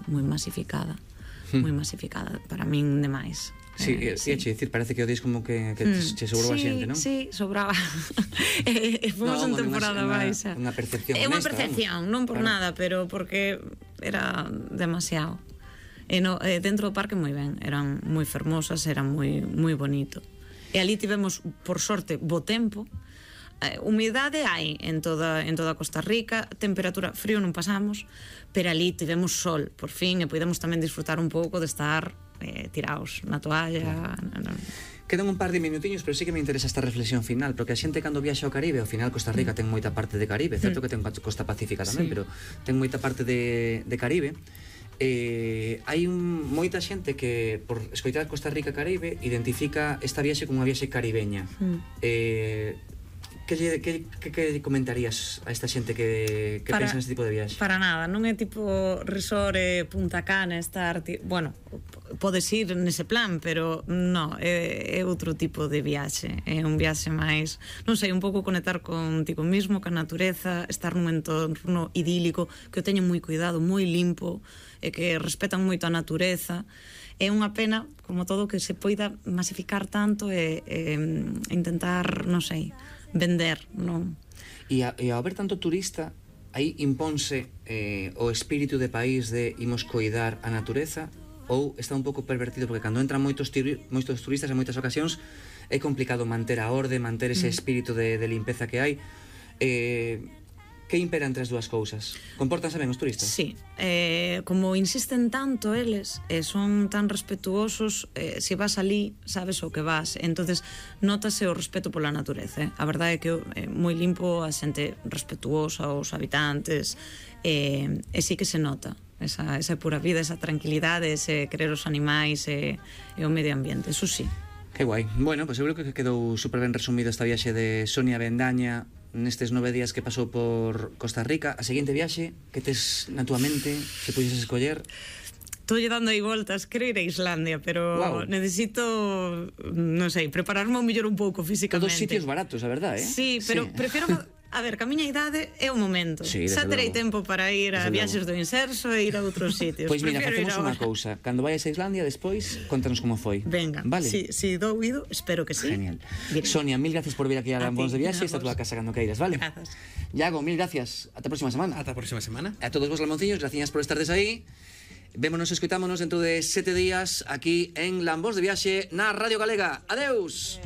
masificada. Moi masificada, para min demais. Sí, dicir, parece que o dis como que che sobrou a xente, non? Sí, sobraba. Fomos en temporada baixa. Unha percepción honesta. É unha percepción, non por nada, pero porque era demasiado. Dentro do parque moi ben, eran moi fermosas, era moi bonito. E ali tivemos, por sorte, bo tempo. Humidade hai en toda Costa Rica, temperatura, frío non pasamos, pero ali tivemos sol, por fin, e podemos tamén disfrutar un pouco de estar tiraos na toalla. Quedan un par de minutiños, pero sí que me interesa esta reflexión final, porque a xente cando viaxa ao Caribe, ao final Costa Rica ten moita parte de Caribe, certo que ten costa pacífica tamén, pero ten moita parte de Caribe. Hai moita xente que por escoitar Costa Rica Caribe identifica esta viaxe como unha viaxe caribeña. Que comentarías a esta xente que pensa neste tipo de viaxe? Para nada, non é tipo resort Punta Cana, estar... Bueno, podes ir nese plan, pero non, é outro tipo de viaxe. É un viaxe máis, non sei, un pouco conectar contigo mismo, ca natureza, estar nun entorno idílico, que o teñen moi cuidado, moi limpo, e que respetan moito a natureza. É unha pena, como todo, que se poida masificar tanto e intentar, non sei, vender, non? E ao haber tanto turista, aí imponse o espírito de país de imos coidar a natureza, ou está un pouco pervertido, porque cando entran moitos turistas en moitas ocasións é complicado manter a orde, manter ese espírito de limpeza que hai. Que impera entre as dúas cousas? Compórtanse ben os turistas? Sí, como insisten tanto eles, son tan respetuosos, se vas ali, sabes o que vas, entonces notase o respeto pola natureza. A verdade é que é moi limpo, a xente respetuosa, os habitantes, e sí que se nota esa pura vida, esa tranquilidade, ese querer os animais e o medio ambiente, eso sí. Que guai. Bueno, pois seguro que quedou super ben resumido esta viaxe de Sonia Bendaña nestes 9 días que pasou por Costa Rica. A seguinte viaxe que tes na túa mente, se puxeses escoller? Estou dando aí voltas, quero ir a Islandia, pero necesito, non sei, prepararme ao mellor un pouco físicamente. Todos sitios baratos, a verdade, Sí, pero prefiro... A ver, que a miña idade é o momento. Xa terei tempo para ir a viaxes do Inserso e ir a outros sitios. Pois mira, facemos unha cousa. Cando vayas a Islandia, despois, contanos como foi. Venga, si dou ido, espero que sí. Genial. Sonia, mil gracias por vir aquí a Lambóns de Viaxe. Esta túa casa cando queiras, vale? Grazas. Iago, mil gracias. Ata a próxima semana. Ata a próxima semana. A todos vos lamonciños, gracias por estardes aí. Vémonos e escoitámonos dentro de 7 días aquí en Lambóns de Viaxe na Radio Galega. Adeus.